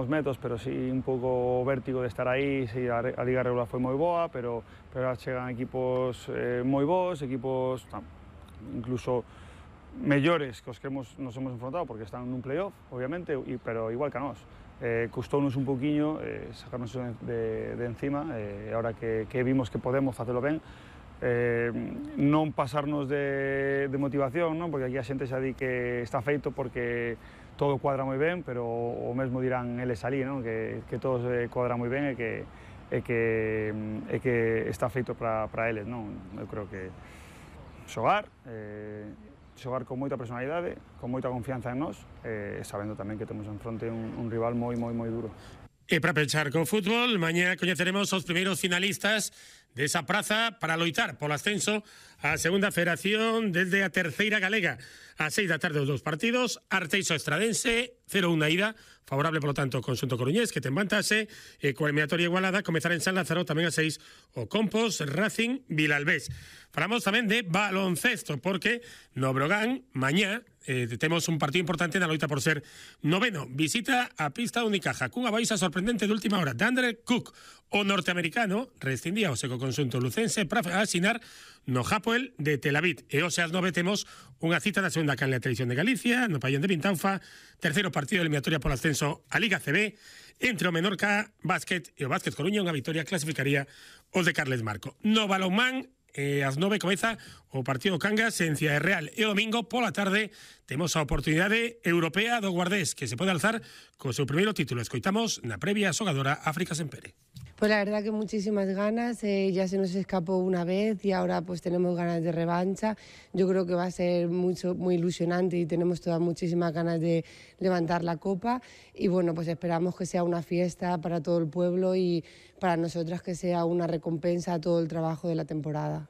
máximos metros, pero sí un pouco vértigo de estar aí. Sí, a liga regular foi moi boa, pero chegan equipos moi bons, equipos incluso mellores que os que nos hemos enfrontado, porque están nun playoff, obviamente, pero igual que a nós. Custounos un pouquiño sacarnos de encima, e agora que vimos que podemos facelo ben, non pasarnos de motivación, non? Porque aquí a xente xa di que está feito porque todo cuadra moi ben, pero o mesmo dirán eles ali, non? Que todo cuadra moi ben e que está feito para eles, non? Eu creo que xogar con moita personalidade, con moita confianza en nós, sabendo tamén que temos en fronte un rival moi duro. E para pechar co fútbol, mañá coñeceremos os primeiros finalistas desa praza para loitar polo ascenso á segunda federación desde a terceira galega. A 6 da tarde os dous partidos, Arteixo Estradense, 0-1 na ida, favorable polo tanto o conxunto coruñés que ten vantaxe, e coa eliminatoria igualada comezar en San Lázaro tamén a 6 o Compos, Racing, Vilalbés. Falamos tamén de baloncesto porque no Brogan mañá temos un partido importante na loita por ser noveno. Visita a pista do Unicaja cunha baixa sorprendente de última hora. Dandre Cook, o norteamericano, rescindía o seco conxunto lucense para asinar no Hapoel de Tel Aviv. E hoxe ás 9 temos unha cita na segunda canle da Televisión de Galicia, no pabellón de Vintaufa, terceiro partido de eliminatoria polo ascenso a Liga CB, entre o Menorca Básquet e o Básquet Coruña. Unha vitoria clasificaría os de Carles Marco. No balonmán, ás 9 comeza o partido Cangas en Ciudad Real, e o domingo pola tarde temos a oportunidade europea do Guardés, que se pode alzar co seu primeiro título. Escoitamos na previa a xogadora África Sempere. Pues la verdad que muchísimas ganas, ya se nos escapó una vez y ahora pues tenemos ganas de revancha. Yo creo que va a ser muy ilusionante y tenemos todas muchísimas ganas de levantar la copa, y bueno, pues esperamos que sea una fiesta para todo el pueblo y para nosotras que sea una recompensa a todo el trabajo de la temporada.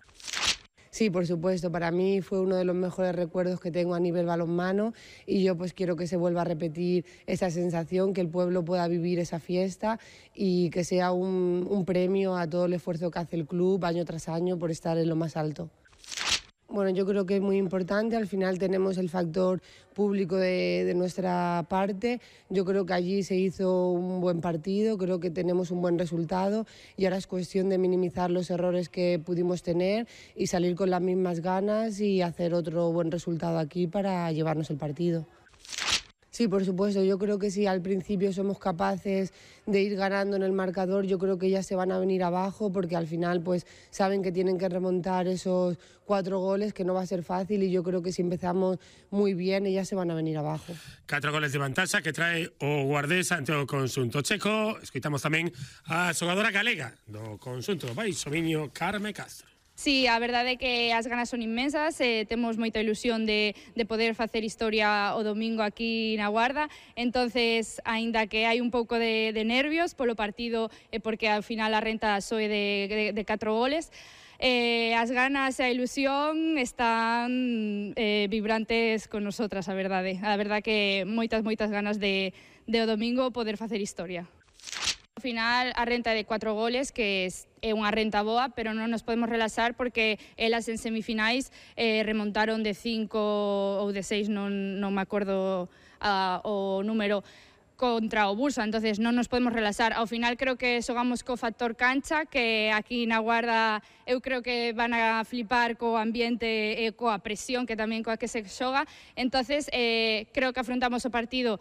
Sí, por supuesto, para mí fue uno de los mejores recuerdos que tengo a nivel balonmano, y yo pues quiero que se vuelva a repetir esa sensación, que el pueblo pueda vivir esa fiesta y que sea un premio a todo el esfuerzo que hace el club año tras año por estar en lo más alto. Bueno, yo creo que es muy importante. Al final tenemos el factor público de nuestra parte. Yo creo que allí se hizo un buen partido, creo que tenemos un buen resultado, y ahora es cuestión de minimizar los errores que pudimos tener y salir con las mismas ganas y hacer otro buen resultado aquí para llevarnos el partido. Sí, por supuesto, yo creo que si al principio somos capaces de ir ganando en el marcador, yo creo que ya se van a venir abajo, porque al final pues saben que tienen que remontar esos 4 goles, que no va a ser fácil, y yo creo que si empezamos muy bien, ellas se van a venir abajo. 4 goles de vantaxa que trae o Guardés ante o conxunto checo. Escoitamos tamén a xogadora galega do conxunto Baixo Miño, Carme Castro. Sí, a verdade é que as ganas son inmensas, temos moita ilusión de poder facer historia o domingo aquí na Guarda. Entonces, aínda que hai un pouco de nervios polo partido, porque ao final a renta soe de 4 goles, as ganas e a ilusión están vibrantes con nosotras, a verdade. A verdade que moitas ganas de o domingo poder facer historia. Ao final, a renta é de 4 goles, que é unha renta boa, pero non nos podemos relaxar porque elas en semifinais remontaron de 5 ou de 6, non me acordo o número, contra o Bursa. Entonces non nos podemos relaxar. Ao final creo que xogamos co factor cancha, que aquí na Guarda eu creo que van a flipar co ambiente e coa presión que tamén coa que se xoga. Entonces creo que afrontamos o partido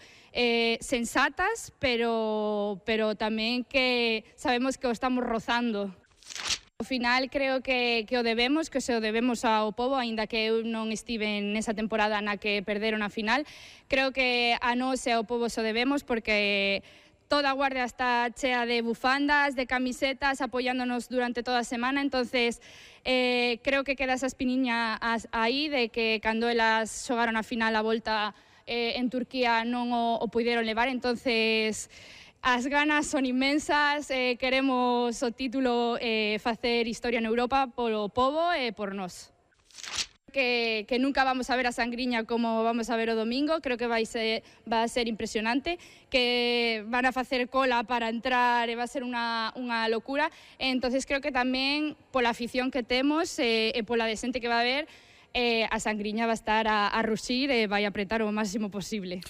sensatas, pero tamén que sabemos que o estamos rozando. Ao final creo que o debemos, que se o debemos ao pobo, aínda que eu non estive nesa temporada na que perderon a final. Creo que a nós e ao pobo se o debemos, porque toda a Guardia está chea de bufandas, de camisetas, apoiándonos durante toda a semana. Entonces creo que queda esa espiniña aí de que cando elas xogaron a final a volta en Turquía non o puideron levar. Entonces as ganas son inmensas, queremos o título, facer historia en Europa polo pobo e por nós. Que nunca vamos a ver a Sangriña como vamos a ver o domingo, creo que va a ser impresionante, que van a facer cola para entrar e va a ser unha locura. Entonces creo que tamén pola afición que temos e pola de xente que va a ver, a Sangriña va a estar a ruxir e vai apretar o máximo posible.